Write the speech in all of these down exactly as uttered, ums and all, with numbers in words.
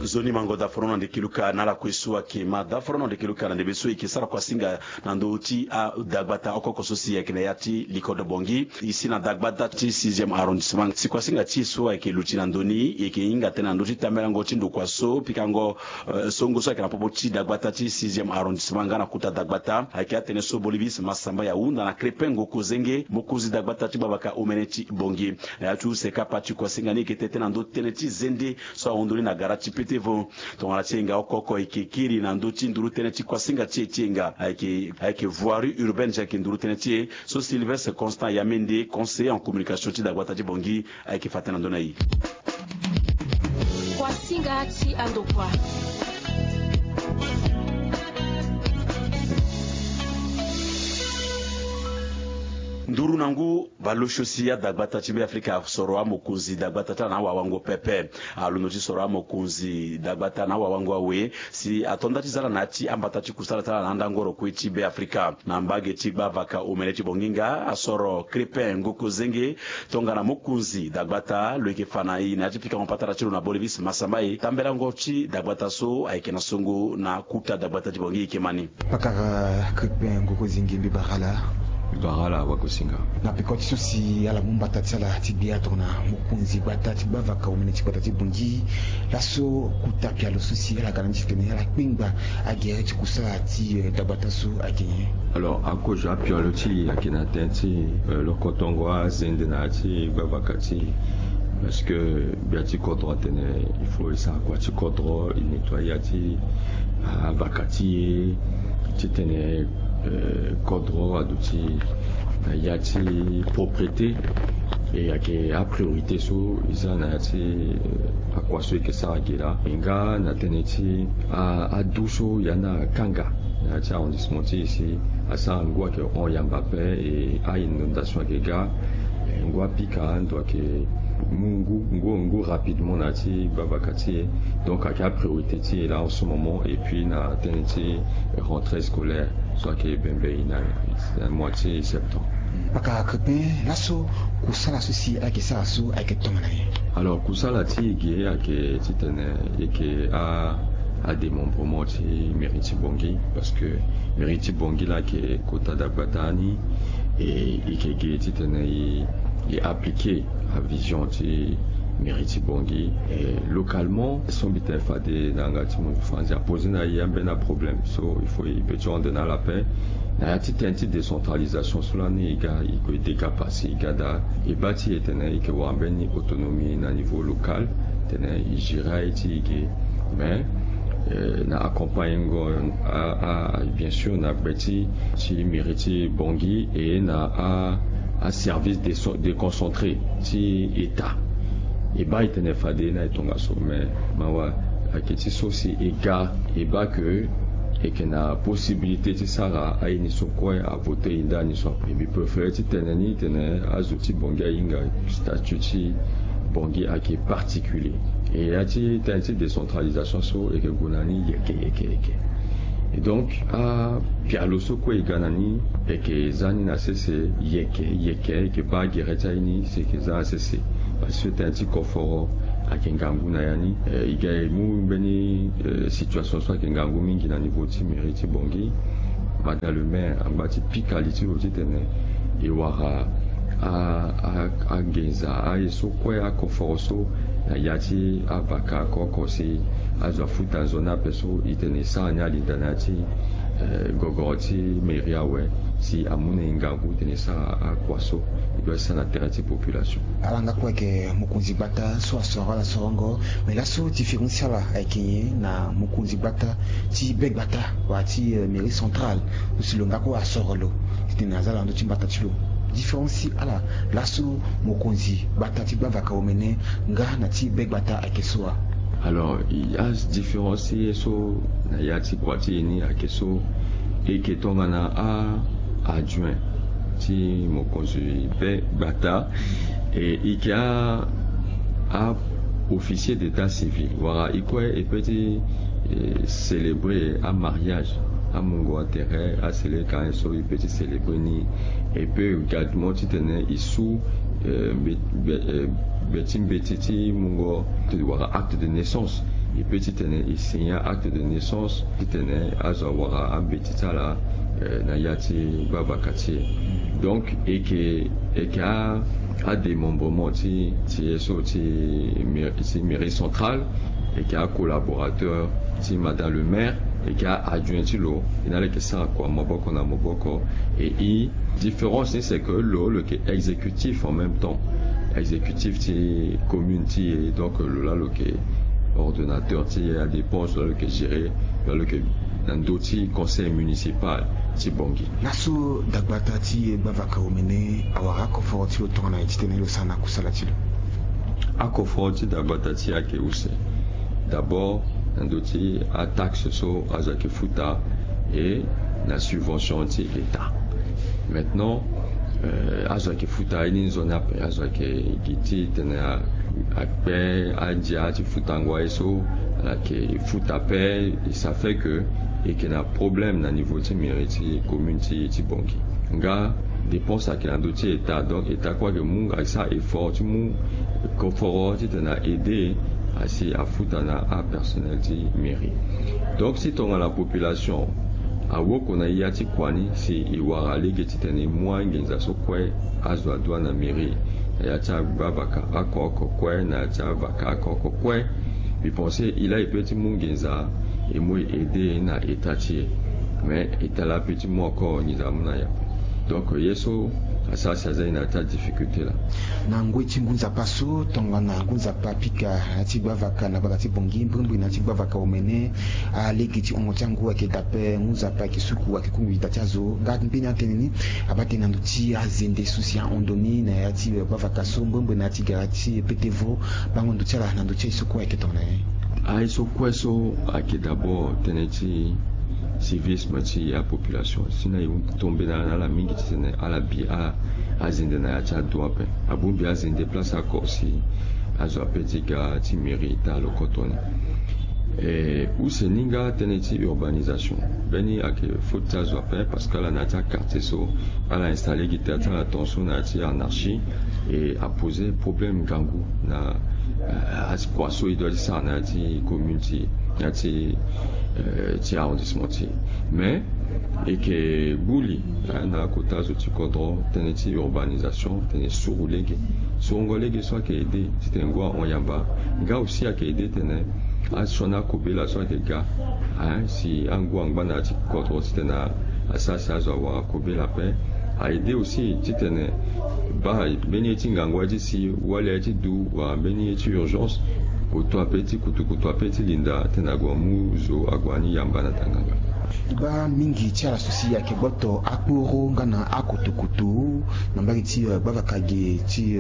Nzoni mango daforono na ndeke luka na ala kue so ayeke ma daforono na ndeke luka na ndembe so e yeke sara kuasinga na ndö ti adagbata oko oko so si ayeke na ya ti likodo Bangui. E si na dagbata ti sixième arrondissement si kuasinga ti e so ayeke luti na ndö ni, e yeke hinga tënë na ndö ti tambelango ti ndokua so pikango songo so ayeke na popo ti dagbata ti sixième arrondissement nga na kuta dagbata ayeke atene so Bolivis Massamba ahunda na Crépin Ngokozenge, mokonzi dagbata ti gbavaka omene ti Bangui. Na ya ti use kapa ti kuasinga ni e yeke tete na ndö tënë ti zende so ahon ndoni na gara ti Petevo. Tongana ti e nga oko oko e yeke kiri na ndö ti nduru tënë ti kuasinga ti e ti e nga ayeke ayeke voirie urbaine ti ayeke nduru tënë ti e so Sylvestre Constant Yamende, conseiller en communication ti dagbata ti Bangui, ayeke fa tënë na ndö na e. Kuasinga ti andokua. Nduru na ngu baleosio si adagbata ti Beafrika asoro amokonzi dagbata ti ala na awawango pepe. Alondo ti soro amokonzi dagbata na awawango awe si ato nda ti za ala na ya ti ambata ti kusala ti ala na andangoro kue ti Beafrika. Na mbage ti gbavaka omene ti Bangui nga asoro Crépin Ngokozenge tongana mokonzi dagbata, lo yeke fa na e na ya ti pikango patara ti lo na Bolivis Massamba e tambelango ti dagbata so ayeke na songo na kuta dagbata ti Bangui e yeke ma ni. Pakara Crépin Ngokozenge, mbi bara ala. Mbi bara ala wagosinga. Na peko ti so si ala mu mbata ti ala ti gbia tongana mokonzi gbata ti gbavaka omene ti gbata ti Bangui, laso kuta pialo so si ala ga na ni ti tene ala kpengba agere ti kusala ti dagbata so ayeke nyen? Alors, akozo apialo ti e ayeke na tënë ti lokotongo azende na ya ti gbavaka ti e. Parce que gbia ti kodro atene il faut e sara kua ti kodro, e nettoyer ya ti avaka ti e, titene kodro aduti na ya ti propreté. E ayeke apriorité so e za na ya ti akua so e yeke sara ge laa. E nga na tënë ti adu so ya ni akanga na ya ti arrondissement ti e si asara ngu ayeke hon yamba ape, e a-inondation ayeke ga. Ngu apika ando ayeke mu ngu ngu ngu rapidement na ya ti gbavaka ti e. Donc ayeke apriorité ti e laa en ce moment, et puis na tënë ti rentrée scolaire so ayeke bembe e na mois ti septembre. Pakara Crépin, laso kusala so si ala yeke sara so ayeke tongana nyen? Alors kusala ti e ge ayeke titene e yeke a adémembrement ti mairie ti Bangui, parce que mairie ti Bangui laa ayeke kota dagbata ni. E yeke ge titene e e appliquer avision ti mairie ti Bangui. E localement so mbi tene fade na yanga ti mo franzi aposer na e ambeni aproblème so il faut e peut ti rendre na ala ape. Na ya ti tënë ti décentralisation so lani e ga e gue dega pasi e ga daa, e baa ti e tene e yeke wara mbeni autonomie na niveau local, tene e gérer aye ti e ge. Mais na accompagnengo a a bien sûr na gbe ti ti mairie ti Bangui et na a a service déconcentré ti état. E baa e tene fade na e tongaso, mais mawa ayeke ti so si e ga e baa ke e yeke na possibilité ti sara aye ni so kue avoter e ndani so ape. Mbi préféré ti tene ni tene azo ti Bangui ahinga statut ti Bangui ayeke particulier. E ya ti tënë ti décentralisation so e yeke gue na ni yeke yeke yeke. Et donc apialo so kue e ga na ni e yeke za ni na sese yeke yeke, e yeke baa gere ti aye ni si e yeke za na sese. Parce que tënë ti koforo ayeke ngangu na ya ni. E ga e mu mbeni situation so ayeke ngangu mingi na niveau ti mairie ti Bangui. Madame le maire angba ti pika li ti lo titene e wara a a angenza aye so kue akoforo so na ya ti avaka oko oko si azo afuta nzoni ape so e tene e sara ni alinda na ya ti gogoro ti mairie awe si amu na e ngangu tene e sara akua so e doit sara na tere ti population. Ala nga kue ayeke mokonzi gbata so asoro ala sorongo. Mais laso différence ti ala ayeke nyen na mokonzi gbata ti be gbata wala ti mairie centrale so si lo nga kue asoro lo titene aza na ndö ti mbata ti lo? Différence ti ala laso mokonzi gbata ti gbavaka omene nga na ti be gbata ayeke so wa? Alors adifférence ti ye so na ya ti kua ti e ni ayeke so e yeke tongana a adjoint ti mokonzi be gbata. E e yeke a a officier d'état civil wala e kue e peut ti célébrer amariage, amungo atere asele ka so e peut ti célébrer ni. E peut également titene e su be ti mbeti ti mungo wala acte de naissance. E pe titene e signer acte de naissance titene azo awara ambeti ti ala na ya ti gbavaka ti e. Donc e yeke e yeke a adémembrement ti ti ye so ti mairie centrale, e yeke acollaborateur ti madame le maire, e yeke a-adjoint ti lo. E na ala yeke sara kua maboko na maboko. E i différence ni c'est que lo lo yeke exécutif en même temps, exécutif ti commune ti e. Donc lo laa lo yeke ordonnateur ti e, adépense lo laa lo yeke gérer, lo laa lo yeke na ndö ti conseil municipal ti Bangui. Laso dagbata ti e gbavaka omene awara akoforo ti lo tongana nyen titene lo sara na kusala ti lo? Akoforo ti dagbata ti e ayeke use. D'abord na ndö ti ataxe so azo ayeke futa, e na subvention ti état. Maintenant azo ayeke futa ye ni nzoni ape. Azo ayeke gi titene akpe andia ti futango aye so ala yeke futa ape. Et ça fait que e yeke na problème na niveau ti mairie ti commune ti ti Bangui. Nga dépense ayeke na ndö ti état, donc état kue ayeke mu asara effort ti mu koforo titene a aider asi afuta na apersonnel ti mairie. Donc si tongana population awoko na ya ti kua ni si e wara lege titene e mu anginza so kue azo adoit na mairie na ya ti agbavaka oko oko kue, na ya ti avaka oko oko kue, mbi pense e laa e peut ti mu nginza e mu e aider na état ti e. Mais état laa peut ti mu encore nginza amu na e ape. Donc ye so asara si aza e na ya ti adifficulté laa. Na ngoi ti ngu nzapa so tongana ngu nzapa apika na ya ti gbavaka na gbata ti Bangui mbrimbri na ya ti gbavaka omene, alege ti hongo ti angu ayeke daa ape, ngu nzapa ayeke suku ayeke kungbi da ti azo. Nga mbeni atënë ni abaa tënë na ndö ti azende so si ahon ndo ni na ya ti gbavaka so mbrimbri na ya ti gara ti pete vo. Bango ndo ti ala na ndö ti aye so kue ayeke tongana nyen? Aye so kue so ayeke d'abord tënë ti civisme ti apopulation. Si na e hon tombé na ala mingi titene ala bi azende na ya ti ado ape. Abongbi azende place oko si azo ape ti ga ti mairie daa lo koto ni. E use ni nga tënë ti urbanisation, mbeni ayeke faute ti azo ape parce que ala na ya ti aquartier so ala installer gi terre ti ala tongaso na ya ti anarchie. E aposer problème ngangu na akua so e doit ti sara na ya ti commune ti e, na ya ti ti arrondissement ti e. Mais e yeke gbu li na kota zo ti kodro tënë ti urbanisation titene e suru lege, surugo lege so ayeke aider titene ngu ahon yamba. Nga aussi ayeke aider titene asioni akobela so ayeke ga si angu angba na ya ti kodro titene asara si azo awara kobela ape. A aider aussi titene baa mbeni ye ti ngangu aye ti si wali aye ti du wala mbeni ye ti urgence, koto ape ti kutukutu ape ti linda titene ague amu zo ague ani yamba na tanganga. E baa mingi ti ala so si ayeke gboto akporo nga na akotokoto na mbage ti gbavaka ge ti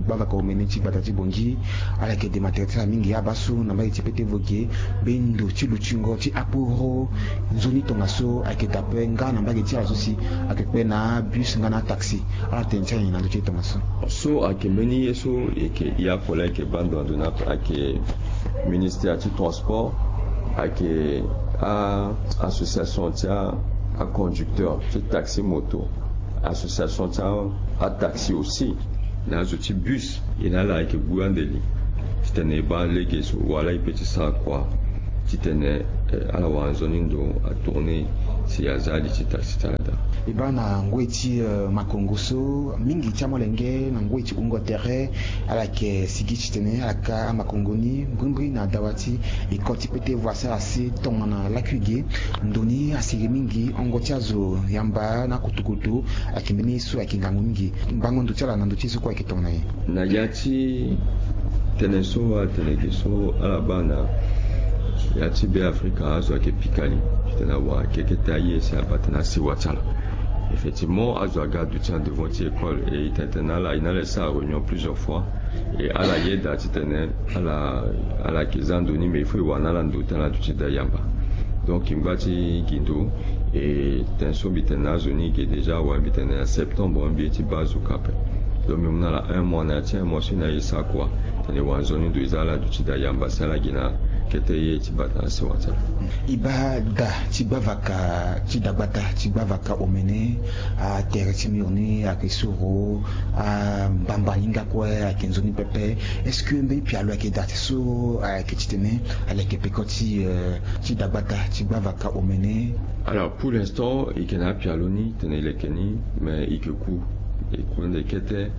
gbavaka omene ti gbata ti Bangui. Ala yeke dema tere ti ala mingi abaa so na mbage ti pete vo ge, mbeni ndo ti lutingo ti akporo nzoni tongaso ayeke daa ape nga na mbage ti ala so si ayeke kpe na abus nga na ataxi. Ala tene ti ala nyen na ndö ti e tongaso? So ayeke mbeni ye so e yeke hia kue laa e yeke baa ndo na ndo ni ape, ayeke ministère ti transport, ayeke a association ti aconducteur ti taxi moto, association ti ataxi aussi, na azo ti bus. E na ala ayeke gbu ande li titene e baa lege so wala e peut ti sara kua titene ala wara nzoni ndo atourner si aza li ti taxi ti ala daa. E baa na ngoi ti makongo so mingi ti amolenge na ngoi ti wungo tere ala yeke sigi titene ala ka amakongo ni mbrimbri na dawa ti ecole ti pete vo asara si tongana lakui ge. Ndo ni asiri mingi, hongo ti azo yamba na kutukutu ayeke mbeni ye so ayeke ngangu mingi. Mbango ndo ti ala na ndo ti ye so kue ayeke tongana nyen? Na ya ti tënë so atene ge so ala baa na ya ti Beafrika azo ayeke pika li titene awara keke taa ye si abaa tënë asewa ti ala. Effectivement azo aga aduti en devant ti école et e tene titene ala e na ala e sara réunion plusieurs fois. Et ala yeda titene ala ala yeke za ndo ni mais il faut e wara na ala ndo ti ala aduti daa yamba. Donc e ngba ti gi ndo. Et tënë so mbi tene na azo ni ge déjà awe mbi tene na septembre mbi ye ti baa azo ka ape. Donc mbi mu na ala un mois na ya ti un mois so e na ye e sara kua. Tene wanzoni ndo e za ala duti daa yamba si ala gi na kete ye ti bata na sewa ti ala. E baa da ti gbavaka ti dagbata ti gbavaka omene, atere ti mur ni ayeke soro, ambamba ni nga kue ayeke nzoni pepe. Est-ce que mbeni pialo ayeke daa ti so ayeke titene aleke peko ti, eh, ti dagbata ti gbavaka omene? Alors, pour l'instant, e yeke na apialo ni tene e leke ni, mais e yeke ku, e ku ande kete,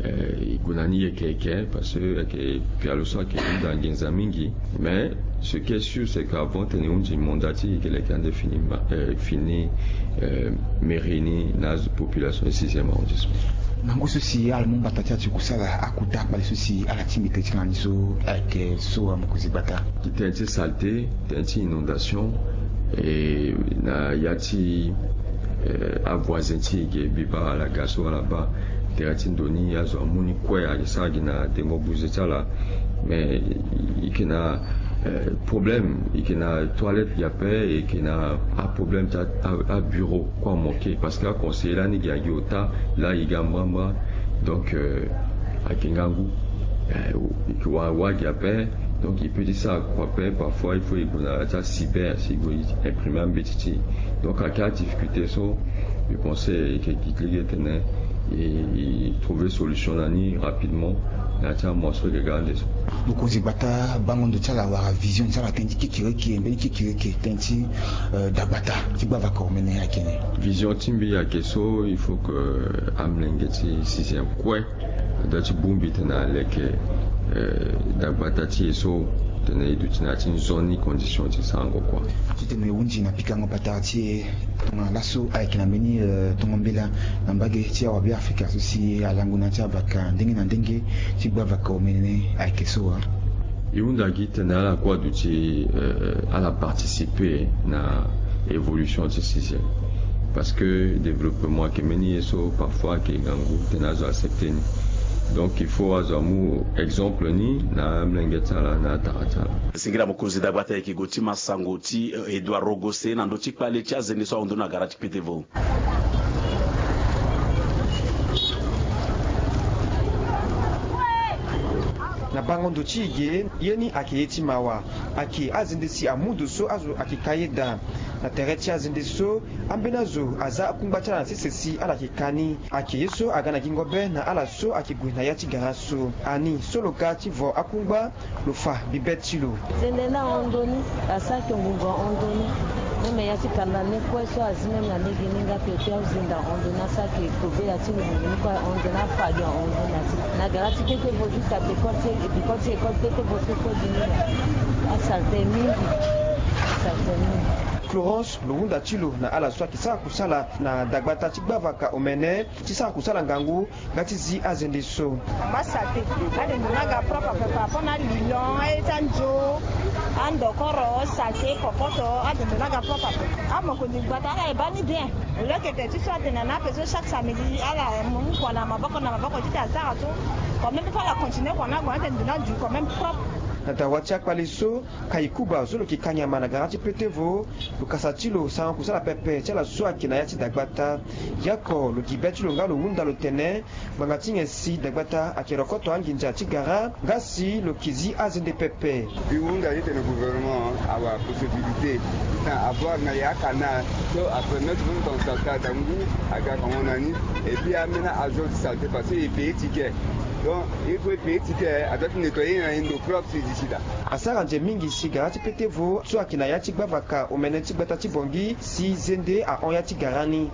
eh, e gue na ni yeke yeke, parce que ayeke pialo so ayeke hunda nginza mingi. Mais ce qui est sûr, c'est qu'avant tene e hunzi mandat ti e, e yeke leke ande fini ma, eh, fini, eh, mairie ni na azo population ti sixième arrondissement. Na ngu so si ala mu mbata ti ala ti kusala, akota kpale so si ala tingbi tënë ti ala ni so ayeke so, amokonzi gbata? Tënë ti saleté, tënë ti inondation, e na ya ti, eh, avoisin ti e ge, mbi baa ala ga so ala baa tere ti ndo ni, azo amu ni kue, ayeke sara gi na dengo buze ti ala. Mais e yeke na, eh, problème, e yeke na toilette gi ape, e yeke na aproblème ti a, a, abureau kue amanke, parce que aconseiller lani gi agi ota, laa e ga mbrambra. Donc, euh, ayeke ngangu. Eh, e yeke wara wara gi ape. Donc e peut ti sara kua ape, parfois il faut e gue na ya ti acyber si e gue e imprimer ambeti ti e. Donc ayeke adifficulté so, je pense e yeke gi ti lege tene e, e trouver solution na ni rapidement na ya ti amois so e yeke ga ande so. Mokonzi gbata, bango ndo ti ala wala vision ti ala tënë ti kekereke, mbeni kekereke tënë ti, euh, dagbata ti gbavaka omene ayeke ni? Vision ti mbi ayeke so, il faut que amolenge ti sixième kue adoit ti bongbi tene aleke, eh, dagbata ti e so, tene e duti na ya ti nzoni condition ti sarango kua. Titene e hunzi na pikango patara ti e, tongana laso ayeke na mbeni, eh, tongo mbela na mbage ti awa Beafrika so si alango na ya ti avaka ndenge na ndenge ti gbavaka omene ayeke so wa? E hunda gi tene ala kue aduti, eh, ala participer na évolution ti sixième. Parce que développement ayeke mbeni ye so parfois ayeke ngangu tene azo accepter ni. Donc il faut azo amu exemple ni na amolenge ti ala na atara ti ala. Singila mokonzi dagbata, e yeke gue ti ma sango ti, eh, Edouard Rogosse na ndö ti kpale ti azende so ahon ndoni na gara ti Petevo. Na bango ndo ti e ge, ye ni ayeke ye ti mawa. Ayeke azende si amu ndo so azo ayeke ka ye daa. Na tere ti azende so, ambeni azo aza akungba ti ala na sese si ala yeke ka ni. Ayeke ye so aga na gingo be na ala so ayeke gue na ya ti gara so. Ani so lo ga ti vo akungba, lo fa bibe ti lo. Zende ni ahon ndoni, asara ayeke ngungu ahon ndoni. Même ya ti kanda ni kue so azi même na lege ni nga pepe, azende ahon ndoni, asara ayeke kobe ya ti ngungu ni kue ahon ndoni, afa gi ahon ndoni na ti. Na gara ti kete vo jusqu'à pekoti, pekoti école kete vo so kue gi ni. Asalte mingi. Asalte mingi. Florence, lo hunda ti lo na ala so ayeke sara kusala na dagbata ti gbavaka omene, ti sara kusala ngangu nga ti zi azende so. Amba saleté. Ande ndo ni aga propre ape par rapport na alilon, aye ti anzo, andokoro, saleté, kokoto, ande ndo ni aga propre ape. Amokonzi gbata ala e baa ni bien. Au lieu que tene ti so atene na ape so chaque samedi ala mu kua na maboko na maboko ti tene asara so. Quand même il faut ala continuer kua ni ague atene ndo ni adu quand même propre. Na dawa ti akpale so, Kayikuba so lo yeke ka nyama na gara ti Petevo, lo kasa ti lo sarango kusala pepe ti ala so ayeke na ya ti dagbata. Yako lo gi be ti lo nga lo hunda lo tene, ngbanga ti nyen si dagbata ayeke rokoto anginza ti gara, nga si lo yeke zi azende pepe. Mbi hunda titene gouvernement awa possibilité ti tene avoir na ya acanal so apermettre bino tongana saleté ada ngu aga kongo na ni. Et puis ambeni azo ti saleté parce que e payer ticket. Donc il faut e payer ticket, adoit ti nettoyer na e ndo propre si e zi sida. Asara nze mingi si gara ti Petevo so ayeke na ya ti gbavaka omene ti gbata ti Bangui si zende ahon ya ti gara ni.